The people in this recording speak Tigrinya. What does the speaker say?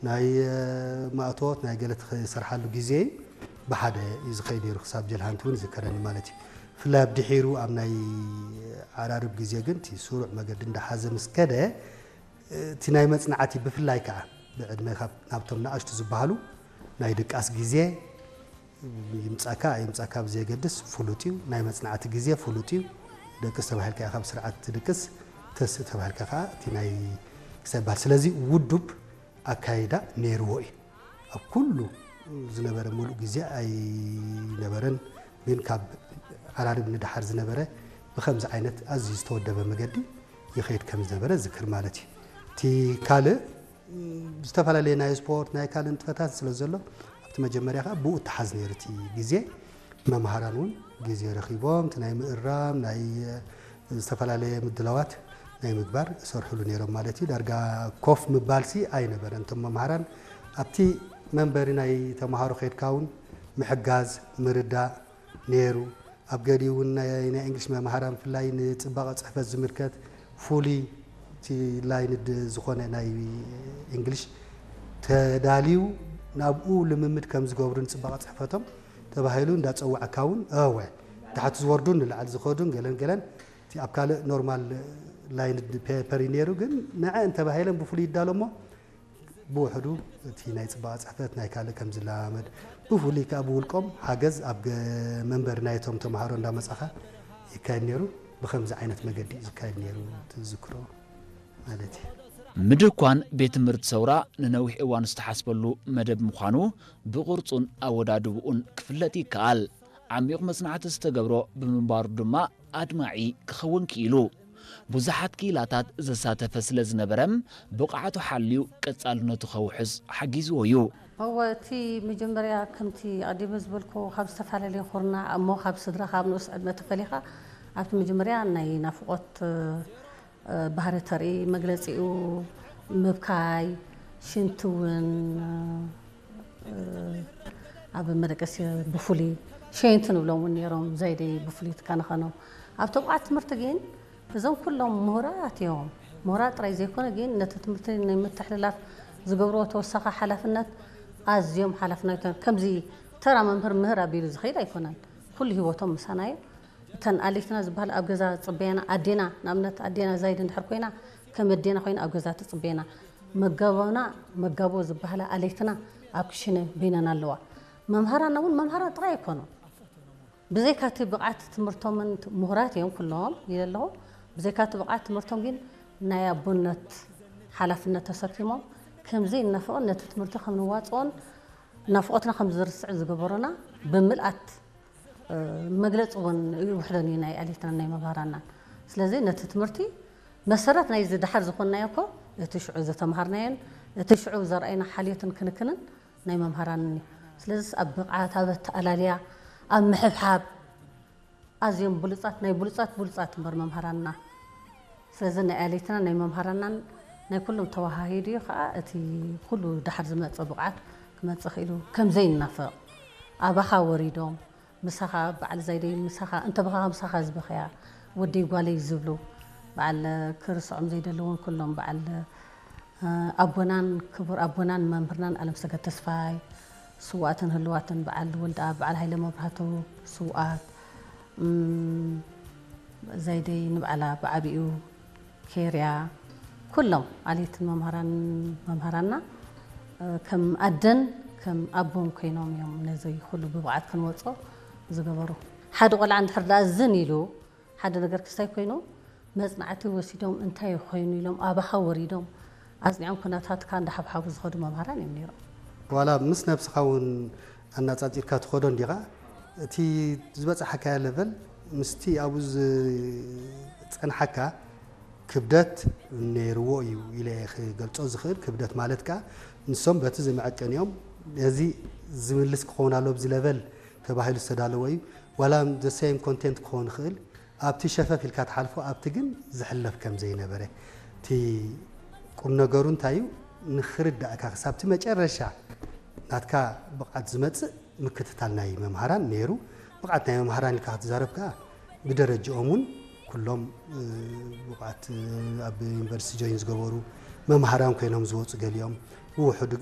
ናይ ማእቶት ናይ ገለ ትሰርሓሉ ግዜ ብሓደ እዩ ዝኸይድ ነይሩ። ክሳብ ጀልሃንቲ እውን ይዝከረኒ ማለት እዩ። ብፍላይ ኣብ ድሒሩ ኣብ ናይ ዓራርብ ግዜ ግን እቲ ስሩዕ መገዲ እንዳሓዘ ምስ ከደ እቲ ናይ መጽናዕቲ ብፍላይ ከዓ ብዕድመ ናብቶም ንኣሽቱ ዝበሃሉ ናይ ድቃስ ግዜ ይምጻካ ኣይምጻካ ብዘየገድስ ፍሉጥ እዩ። ናይ መጽናዕቲ ግዜ ፍሉጥ እዩ። ደቅስ ተባሂልካ ኢኻ ኣብ ስርዓት ትድቅስ፣ ተስእ ተባሂልካ ከዓ እቲ ናይ ክሳይ ይበሃል። ስለዚ ውዱብ ኣካይዳ ነይርዎ እዩ። ኣብ ኩሉ ዝነበረ ሙሉእ ግዜ ኣይነበረን፣ ግን ካብ ዓራርብ ንደሓር ዝነበረ ብኸምዚ ዓይነት ኣዝዩ ዝተወደበ መገዲ ይኸይድ ከም ዝነበረ ዝክር ማለት እዩ። እቲ ካልእ ዝተፈላለዩ ናይ ስፖርት ናይ ካልእ ንጥፈታት ስለ ዘሎ ኣብቲ መጀመርያ ከዓ ብኡ እተሓዝ ነይሩ እቲ ግዜ። መምሃራን እውን ግዜ ረኺቦም እቲ ናይ ምእራም ናይ ዝተፈላለየ ምድላዋት ናይ ምግባር ይሰርሕሉ ነይሮም ማለት እዩ። ዳርጋ ኮፍ ምባልሲ ኣይነበረን። እቶም መምሃራን ኣብቲ መንበሪ ናይ ተምሃሮ ከድካ እውን ምሕጋዝ ምርዳእ ነይሩ። ኣብ ገሊኡ እውን ናይ ናይ እንግሊሽ መምሃራን ብፍላይ ንፅባቐ ፅሕፈት ዝምልከት ፍሉይ እቲ ላይንድ ዝኾነ ናይ እንግሊሽ ተዳልዩ ናብኡ ልምምድ ከም ዝገብሩ ንፅባቐ ፅሕፈቶም ተባሂሉ እንዳፀዋዕካ እውን እወ ታሕቲ ዝወርዱን ንላዕሊ ዝኸዱን ገለን ገለን እቲ ኣብ ካልእ ኖርማል ላይንድ ፔፐር እዩ ነይሩ። ግን ንዐ እንተባሂለን ብፍሉይ ይዳሎ እሞ ብውሕዱ እቲ ናይ ፅባቐ ፅሕፈት ናይ ካልእ ከም ዝለማመድ ብፍሉይ ከዓ ብውልቆም ሓገዝ ኣብ ገ- መንበሪ ናይቶም ተምሃሮ እንዳመፃኻ ይካየድ ነይሩ። ብከምዚ ዓይነት መገዲ እዩ ዝካየድ ነይሩ ትዝክሮ ማለት እዩ። ምድኳን ቤት ትምህርቲ ሰውራ ንነዊሕ እዋን ዝተሓስበሉ መደብ ምዃኑ ብቕርጹን ኣወዳድብኡን ክፍለጥ ይከኣል። ዓሚቕ መጽናዕቲ ዝተገብሮ ብምንባሩ ድማ ኣድማዒ ክኸውን ክኢሉ። ብዙሓት ክኢላታት ዘሳተፈ ስለ ዝነበረ ብቕዓቱ ሓልዩ ቀጻልነቱ ከውሕስ ሓጊዝዎ እዩ። እወ እቲ መጀመርያ ከምቲ ኣቐዲመ ዝበልኩ ካብ ዝተፈላለየ ኩርናዕ እሞ ካብ ስድራ ካብ ንኡስ ዕድመ ተፈሊኻ ኣብቲ መጀመርያ ናይ ናፍቖት ባህሪ ተርኢ መግለጺኡ ምብካይ ሽንቲ እውን ኣብ መደቀሲ ብፍሉይ ሸየንቲ ንብሎም እውን ነይሮም ዘይደይ ብፍሉይ ትከናኸኖም ኣብቲ ብቕዓት ትምህርቲ ግን እዞም ኩሎም ምሁራት እዮም። ምሁራት ጥራይ ዘይኮነ ግን ነቲ ትምህርቲ ንምትሕልላፍ ዝገብርዎ ተወሳኺ ሓላፍነት ኣዝዮም ሓላፍነት ከምዚ ተራ መምህር ምህር ኣቢሉ ዝኸይድ ኣይኮነን። ኩሉ ህይወቶም ምሳና እዩ። እተን ኣሌትና ዝበሃል ኣብ ገዛ ዝፅበያና ኣዴና ንኣብነት ኣዴና ዛይድ እንድሕር ኮይና ከም ኣዴና ኮይና ኣብ ገዛ ትፅበየና። መጋቦና መጋቦ ዝበሃላ ኣሌትና ኣብ ክሽነ በይነን ኣለዋ። መምሃራና እውን መምሃራን ጥራይ ኣይኮኑን። ብዘይካ እቲ ብቕዓት ትምህርቶምን ምሁራት እዮም ኩሎም ኢለ ኣለኹ። ብዘይካ እቲ ብቕዓት ትምህርቶም ግን ናይ ኣቦነት ሓላፍነት ተሰኪሞም ከምዘይ እናፍቕን ነቲ ትምህርቲ ከም ንዋፅኦን ናፍቖትና ከም ዝርስዕ ዝገበሩና ብምልኣት መግለፂ እውን ይውሕደን እዩ ናይ ኣሌትናን ናይ መምሃራናን። ስለዚ ነቲ ትምህርቲ መሰረት ናይዚ ደሓር ዝኾንናዮ እኮ እቲ ሽዑ ዝተምሃርናዮን እቲ ሽዑ ዘርኣይና ሓልዮትን ክንክንን ናይ መምሃራንን እዩ። ስለዚስ ኣብ ብቕዓት፣ ኣብ ኣተኣላልያ፣ ኣብ ምሕብሓብ ኣዝዮም ብሉፃት ናይ ብሉፃት ብሉፃት እምበር መምሃራንና። ስለዚ ናይ ኣሌትና ናይ መምሃራናን ናይ ኩሎም ተወሃሂዱ እዩ ከዓ እቲ ኩሉ ደሓር ዝመፀ ብቕዓት ክመፅእ ክኢሉ ከም ዘይናፈቕ ኣባኻ ወሪዶም ምሳኻ በዓል ዛይደይ ምሳኻ እንተበኻ ምሳኻ ዝበኸያ ወደይ ጓለይ ዝብሉ በዓል ክርስዖም ዘይደለውን ኩሎም በዓል ኣቦናን ክቡር ኣቦናን መምህርናን ኣለምሰገድ ተስፋይ፣ ስውኣትን ህልዋትን በዓል ወልደኣብ በዓል ሃይለ መብራህቱ፣ ስውኣት፣ ዛይደይ ንባዕላ ብዓቢኡ፣ ኬርያ፣ ኩሎም ኣሌትን መምሃራን መምሃራንና ከም ኣደን ከም ኣቦን ኮይኖም እዮም ነዚ ኩሉ ብብቕዓት ክንወፅኦ ዝገበሩ። ሓደ ቆልዓ እንድሕር ደኣ ዝን ኢሉ ሓደ ነገር ክስታይ ኮይኑ መፅናዕቲ ወሲዶም እንታይ ኮይኑ ኢሎም ኣባኻ ወሪዶም ኣፅኒዖም ኩነታትካ እንዳሓብሓቡ ዝኸዱ መምሃራን እዮም ነይሮም። ዋላ ምስ ነብስኻ እውን ኣናፃፂርካ ትኸዶ እንዲኻ እቲ ዝበፃሓካዮ ለቨል ምስቲ ኣብኡ ዝፀንሓካ ክብደት ነይርዎ እዩ ኢለ ክገልፆ ዝኽእል። ክብደት ማለት ከዓ ንሶም በቲ ዝምዕቀን እዮም ነዚ ዝምልስ ክኸውን ኣሎ ብዚ ለቨል ተባሂሉ ዝተዳለወ እዩ። ዋላ the same content ክኸውን ይኽእል ኣብቲ ሸፈፍ ኢልካ ትሓልፎ ኣብቲ ግን ዝሕለፍ ከም ዘይነበረ እቲ ቁም ነገሩ እንታይ እዩ ንኽርዳእካ ክሳብ እቲ መጨረሻ ናትካ ብቕዓት ዝመፅእ ምክትታል ናይ መምሃራን ነይሩ። ብቕዓት ናይ መምሃራን ኢልካ ክትዛረብ ከዓ ብደረጅኦም እውን ኩሎም ብቕዓት ኣብ ዩኒቨርሲቲ ጆይን ዝገበሩ መምሃራን ኮይኖም ዝወፁ ገሊኦም ብውሕዱ ግን